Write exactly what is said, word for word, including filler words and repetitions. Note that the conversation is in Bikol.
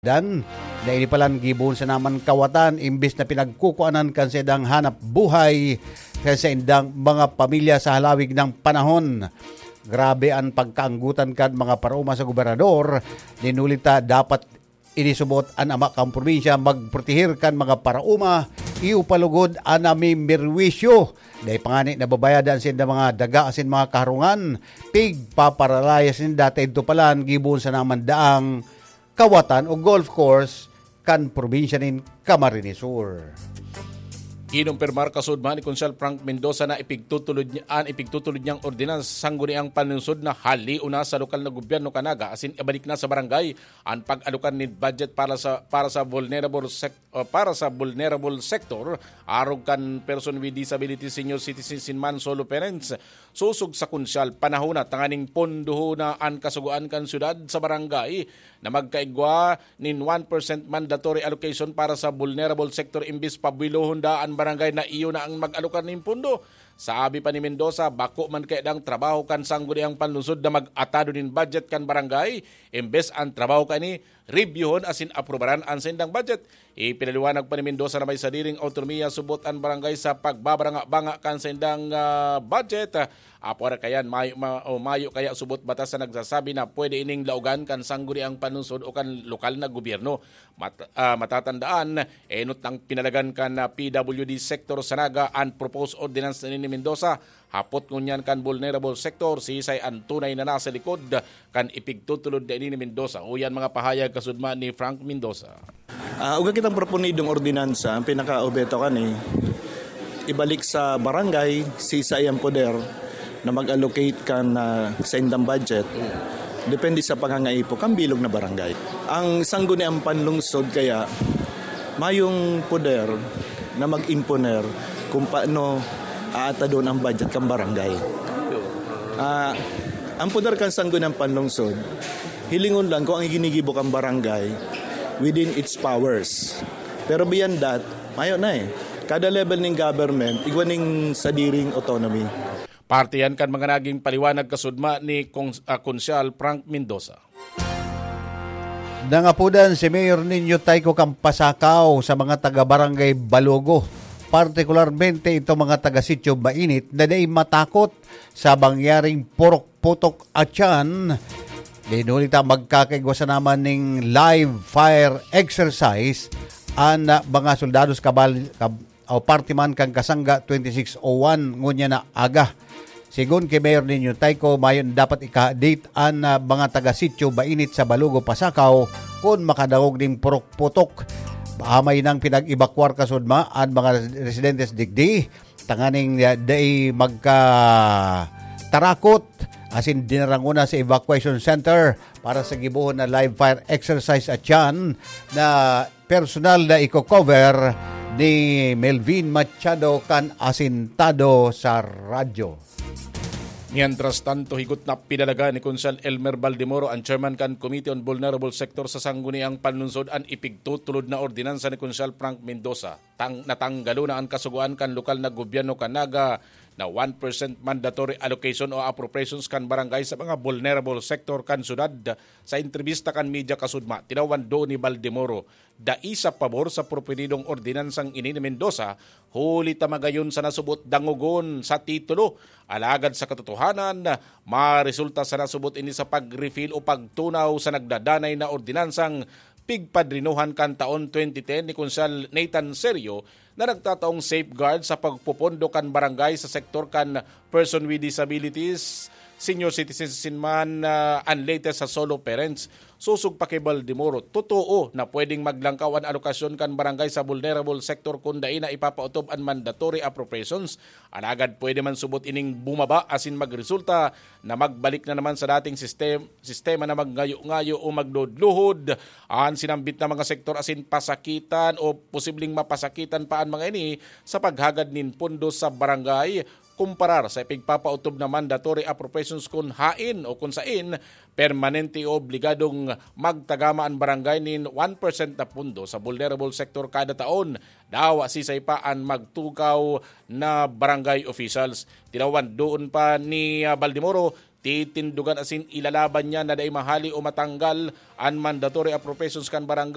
Dan, na ini palan gibohon sana man kawatan imbis na pinagkukuanan kan saindang hanap buhay kan saindang mga pamilya sa halawig na panahon. Grabe an pagkaanggotan kan mga paraoma sa gobernador. Dinuli ta dapat inisubot an ama kan probinsya magproteher kan mga paraoma, iyo pa lugod an namimirwisyo. Dai pa ngani nababayadan sinda mga daga asin mga kaharungan, pigpaparalayas ninda ta idto palan gibohon sana man daang kawatan o golf course kan probinsya nin Camarines Sur. Kinumpirmar kasudma ni Konsehal Frank Mendoza na ipigtutulod niya, an ipigtutulod niyang ordinansa sa Sangguniang Panlungsod na halion na sa lokal na gobyerno kan Naga asin ibalik na sa barangay an pag-alokar nin budget para sa, para sa vulnerable sec-, o para sa vulnerable sector arog kan person with disability, senior citizens, asin man solo parents. Sosog sa Konsehal, panahon na tanganing pondohon na an kasugoan kan syudad sa barangay na magkaigwa nin one percent mandatory allocation para sa vulnerable sector imbis pabuelohon da an barangay na iyo na an mag-alokar nin pondo. Sabi pa ni Mendoza, bako man kaya dang trabaho kan Sangguniang Panlungsod na mag-atado nin budget kan barangay, imbes an trabaho kaini, reviewhon asin aprobaran an saindang budget. Ipinaliwanag pa ni Mendoza na may sadiring awtonomiya subot an barangay sa pagbabaranga-banga kan saindang, ah, budget. Apwera kayan, mayo, ma-, o mayo kaya subot batas na nagsasabi na pwede ining laogan kan Sangguniang Panlungsod o kan lokal na gobyerno. Mat-, ah, matatandaan, enot nang pinalagan kan, ah, P W D sector sa Naga an proposed ordinance ni, ni Mendoza. Hapot ngunyan kan vulnerable sector, sisay an tunay na nasa likod kan ipigtutulod na ini ni Mendoza. Uyan mga pahayag kasudma ni Frank Mendoza. Ah, uga kitang proponidong ordinansa, ang pinaka-obheto kani, ibalik sa barangay, sisay ang poder na mag-allocate kan, ah, saindang budget. Depende sa pangangaipo kan bilog na barangay. Ang Sangguniang Panlungsod kaya mayong poder na mag-imponer kung paano aatadon ang budget kan barangay. Ah, ang poder kan Sangguniang Panlungsod, hilingon lang kung ang ginigibo kan barangay within its powers. Pero beyond that, mayo na eh. Kada level ning government, igwa ning sadiring autonomy. Parte yan kan mga naging paliwanag kasudma ni Kons-, ah, Konsyal Frank Mendoza. Nangapodan si Mayor Nino Tayco kan pasakaw sa mga taga-barangay Balogo, partikularmente itong mga taga-sitio Mainit na dai matakot sa mangyaring purok-putok a tiyan. Dinuli ta magkakaigwa sana man ning live fire exercise an, ah, mga soldados kabal-, kab-, o parte man kan Kasangga twenty-six oh one ngunyan na aga. Sigon ki Mayor Nino Tayco, mayo na dapat ika-date an, ah, mga taga-sitio Mainit sa Balogo, Pasakaw kun makadangog nin purok-putok. Amay nang pinag-ebakwar kasudma an mga residentes digdi, tanganing, ah, dai magkatarakot asin dinaranguna sa evacuation center para sa gibohon na live fire exercise a tiyan na personal na iko-cover ni Melvin Machado kan Asintado sa Radyo. Mientras tanto, higot na pinalaga ni Konsehal Elmer Baldemoro, ang chairman kan Committee on Vulnerable Sector sa Sangguniang Panlungsod, an ipigtutulod na ordinansa ni Konsehal Frank Mendoza. Tang-, natanggalon na an kasugoan kan lokal na gobyerno kan Naga na one percent mandatory allocation o appropriations kan barangay sa mga vulnerable sector kan syudad. Sa entrebista kan media kasudma, tinawan doon ni Baldemoro, dai sa pabor sa proponidong ordinansang ini ni Mendoza, huli ta magayon sa nasubot dangogon sa titulo. Alagad sa katotohanan, maresulta sa nasubot ini sa pag-repeal o pagtunaw sa nagdadanay na ordinansang pigpadrinuhan kan taon twenty ten ni Konsehal Nathan Serio na nagtataong safeguard sa pagpopondo kan barangay sa sektor kan person with disabilities, senior citizens, asin man, ah, an latest sa solo parents. Sosog pa ki Baldemoro, totoo na pwedeng maglangkaw an alokasyon kan barangay sa vulnerable sector kun dai na ipapaotob an mandatory appropriations. Alagad pwede man subot ining bumaba asin magresulta na magbalik na naman sa dating sistem-, sistema na magngayo-ngayo o magluhod-luhod an sinambit na mga sektor asin pasakitan o posibleng mapasakitan pa an mga ini sa paghagad nin pondo sa barangay kumparar sa ipigpapaotob na mandatory appropriations kun haen o kun saen permanente o obligadong magtagama an barangay nin one percent na pondo sa vulnerable sector kada taon. Dawa sisay pa an magtukaw na barangay officials. Tinawan doon pa ni, ah, Baldemoro, titindogan asin ilalaban niya na dai mahali o matanggal an mandatory appropriations kan barangay.